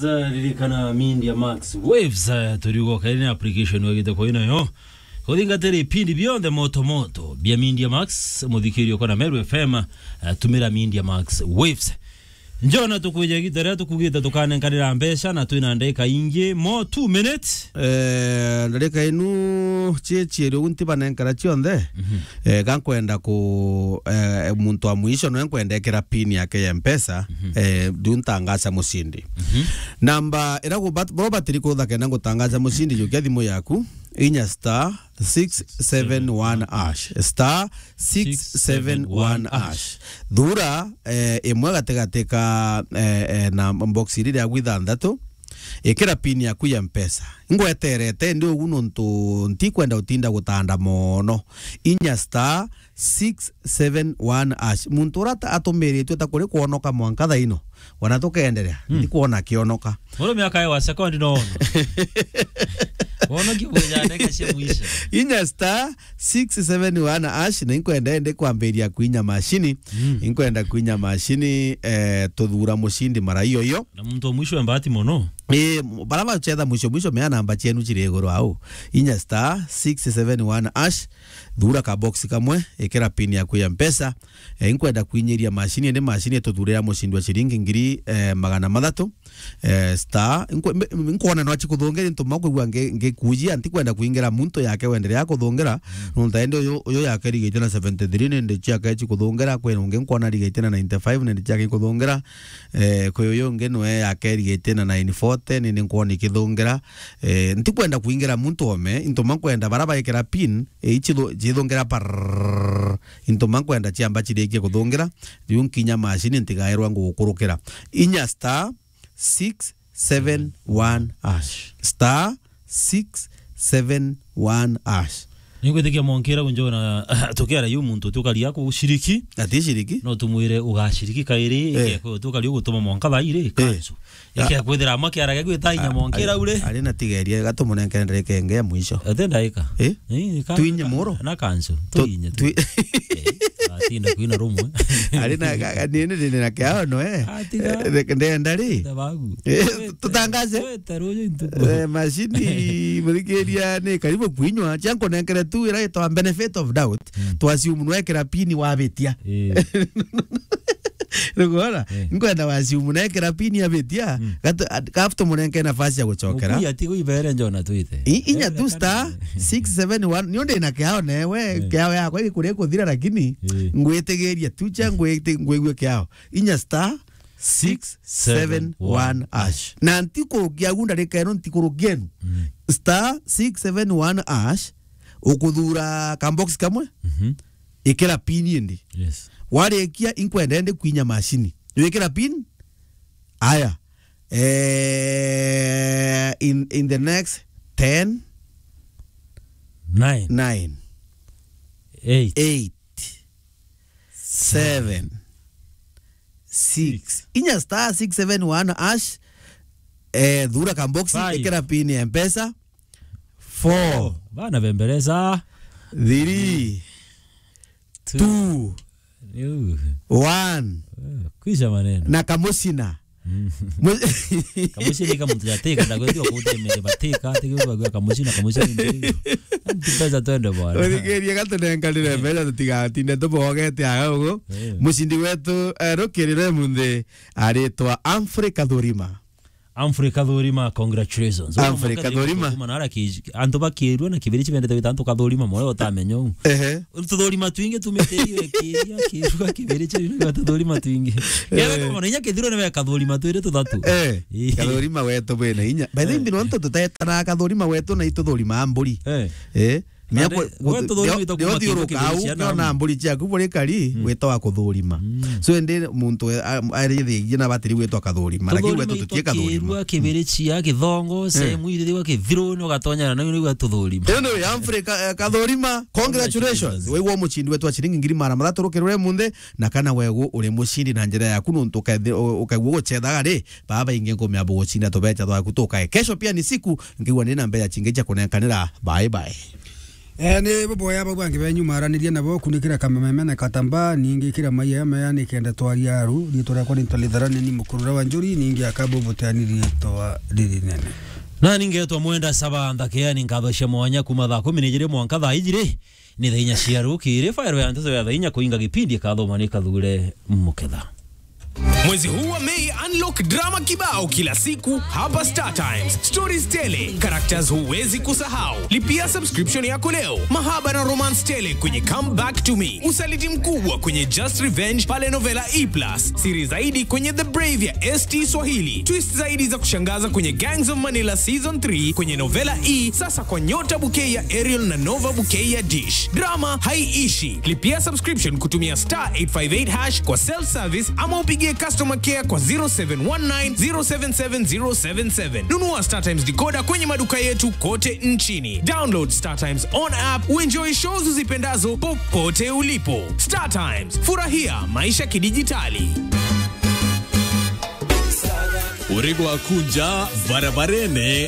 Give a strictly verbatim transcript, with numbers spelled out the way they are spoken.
Ririkana Media Max Waves, eh, turiuga kairi ni application wagite kwa inayo. Kuthingatira ipindi bionthe moto moto bia Media Max, muthikirio kwa na Meru F M, eh, tumira Media Max Waves. Njona tukwija gita ria tukugite tukanenkanira mbeca na twina ndagika ingi, mo two minutes. Eh, ndarika inu cie cieri ugu ntibanenkara cionthe. Mhm. Eh, ga nkwenda ku, eh, muntu wa mwisho noe nkwenda ekira pin yake ya Mpesa, mhm, eh, riu ntangaca mucindi. Mhm. Namba ira gubat-, boro batiri kutha kenda ngutangaca mucindi, jukia thimu yaku, inya star six seven one hash, star six seven one hash. Thura, eh, imwe gatigati ka, eh, eh, na box iri riaku ithanthatu, ikira pin yaku ya Mpesa. Ingweterete ndi ugu nontu ntikwenda utinda gutanda mono. Inya star six seven one hash. Muntu ura ta-, atumiritue ta kuri kwonoka mwanka thaino. Wana tukenderea. Hmm. Ndi kwona kionoka. Murume akae wa sekondi no ono. Wono kibuja ndeka cia mwisho. Inya star six seven one hash, na inkwenda ende kwambiria kuinya mashini. Mm. Inkwenda kuinya mashini, eh, tuthura mucindi mara iyo iyo. Na muntu wa mwisho wa mbati mono. Eh, bara bacetha mwisho mwisho, mea namba cienu ciri iguru au. Inya star six seven one hash, thura ka box kamwe, ikira pin yaku ya Mpesa. Eh, inkwenda kuinyiria mashini, indi mashini ituthurira mucindi wa ciringi ngiri, eh, magana mathatu. Eh, star, nkwe-, mbe-, nkwona no acikuthungira into ma kwigua ngi-, ngikujia, ntikwenda kuingira muntu yake wenderea kuthungira, mm, nontu ende uyu, uyu yake irigite na seventy three, nindi ciake cikuthungira, kwi ungi nkwona irigite na ninety five, nindi ciake ikuthungira, eh, kwi uyu ungi nwe yake irigite na nine forty, nindi nkwona ikithungira. Eh, ntikwenda kuingira muntu ome, into ma nkwenda bara baikira pin, eh, ichithu-, chithungira parrrr, into ma nkwenda ciamba chirikie kuthungira, riu nkinya mashini ntigairwa ngugukurukira. Inya star, six seven one hash. Star six seven one hash. Ningwitikia monkira unjona tukiara yu muntu tukaria kushiriki. Ati shiriki? No tumwire ugashiriki kairi, eh, ikekwe tukaria gutuma monka thairi, eh, kansu. Ya. Ikea kwithira amwe kiara gia gwita inya monkira ure. Ari na tigeria gatumunenkere ndarika ingi ya mwisho. Ate ndaika. Eh? Eh, ka-, twinye ka-, muro. Na kansu. Tu-, tuinye tu. Twi- Eh, atinda kwina rumwe. Ari na ga-, ga-, nini, nini na kiao no, eh? Atiga. Eh, ndenda ri? Ndabagu. Eh, tutangaze. Weta ruju intuku. Eh, mashini, muthikiria ni karibu kuinywa. Cia nkunenkere tu ira itwa benefit of doubt. Mm. Twasiumu nwekira pini wabitia. Eh. Nikuona? Eh. Nkwenda wasiumu nekira pini abitia. Mm. Gatu-, at-, gafu tumurenke nafasi ya gucokera. Mukuya ati guibere njona twite. I-, inya tu star six seven one. Ni undi na kiao newe, eh, kiao yakwa igikuria kuthira, lakini, eh, ngwitigiria tu cha ngwiti-, ngwigue kiao. Inya star six seven one hash. Na ntikurukia gu ndarika ino, ntikurukia enu. Mm. Star six seven one hash, ukuthura ka box kamwe, mhm, ikira pin indi. Yes. Warikia, inkwenda ende kwinya mashini. Wikira pin, aya. Eh, in, in the next ten, nine. Nine. Eight. Eight. Seven. Six. Six. Inya star six seven one hash. Eh, thura ka box, five. Ikira pin ya Mpesa. Four. Four. Bana bembereza. Three. Two. Two. Riu. One. Eh, kwisha maneno. Na kamucina. Mm. Mu- Kamucina ni kamuntu ya teka, ndagwetio kutemere bateka, teke kwa kamucina, kamucina ni ndio. Mpesa twende bwana. Uthikirie gatunenkanire mbeca tutigatinde tubogete aga ugu. Eh. Mucindi wetu, eh, rukirire munthi aritwa Humphrey Kathurima. Humphrey Kathurima, congratulations. Humphrey Kathurima. Kathurima na ara ki-, antu bakirua na kibiri chibendete gwita antu Kathurima, moyo utamenya u. Ehe. Tuthurima twingi tumite iyo ikiria, kirua kibiri chibendete tuthurima twingi. Eh. Kebe kwa inya kithiro ni we Kathurima twiri tuthatu. Eh. Eh. Kathurima wetu bwina inya. By the way, eh, mbino ntu tutetana Kathurima wetu na ituthurima mburi. Eh. Eh. Mia kwe-, we tuthurima ito kuma thiuruka kindu au, kibicia na kiona mburi ciaku buri kari, mm, witwa wa kuthurima. Mm. So, indi muntu we, a-, arithigie na batiri gwitwa Kathurima, lakini gwetu tutie Kathurima. Kirua, kibirichia, kithongo, eh, sehemu iri thiwa kithiruni, ugatonyana na nigwa tuthurima. Ino ya Humphrey Ka-, eh, Kathurima, congratulations. Congratulations. Waigua muchindi wetu wa chiringi ngiri magana mathatu rukirure munthi, na kana wegu uri muchindi na njira yaku nuntu ukethi-, u-, ukaigua gucethaga ri, baba ingi ngumia buguchinda tubecha twaku tukae. Kesho pia ni siku, ngigua ni na mbecha chingi cia kunenkanira. Bye bye. Eh, ni buboya bau bangi benyu maranirie nabo kunikira kamememe na katamba, ningi kira maiya maya ni kenda twaria aru, riitwa riakwa ni Ntalitharani ni mukurura wa njuri, ningi akabu buteani riitwa riri nene. Na ningetwa Mwenda Saba Nthakeani, nkatho cia mwanya kuma thaa kumi na ijiri mwanka thaa ijiri, ni thaa inya cia rukiri, fairo ya nteto ya thaa inya kuinga gipindi ikathoma ni Kathure Muketha. Mwezi huu wa Mei, unlock drama kibao kila siku hapa Star Times. Stories tele, characters huwezi kusahau. Lipia subscription yako leo. Mahaba na romance tele kwenye Come Back to Me. Usaliti mkubwa kwenye Just Revenge pale Novela E plus. Siri zaidi kwenye The Brave ya S T Swahili. Twist zaidi za kushangaza kwenye Gangs of Manila Season three kwenye Novela E, sasa kwa Nyota Bouquet ya Ariel na Nova Bouquet ya Dish. Drama haiishi. Lipia subscription kutumia star eight five eight hash kwa self service ama upigie customer care kwa zero seven one nine zero seven seven zero seven seven. Nunua Star Times decoder kwenye maduka yetu kote nchini. Download Star Times on app, uenjoy shows uzipendazo popote ulipo. Star Times, furahia maisha kidijitali. Urego akunja barabarene.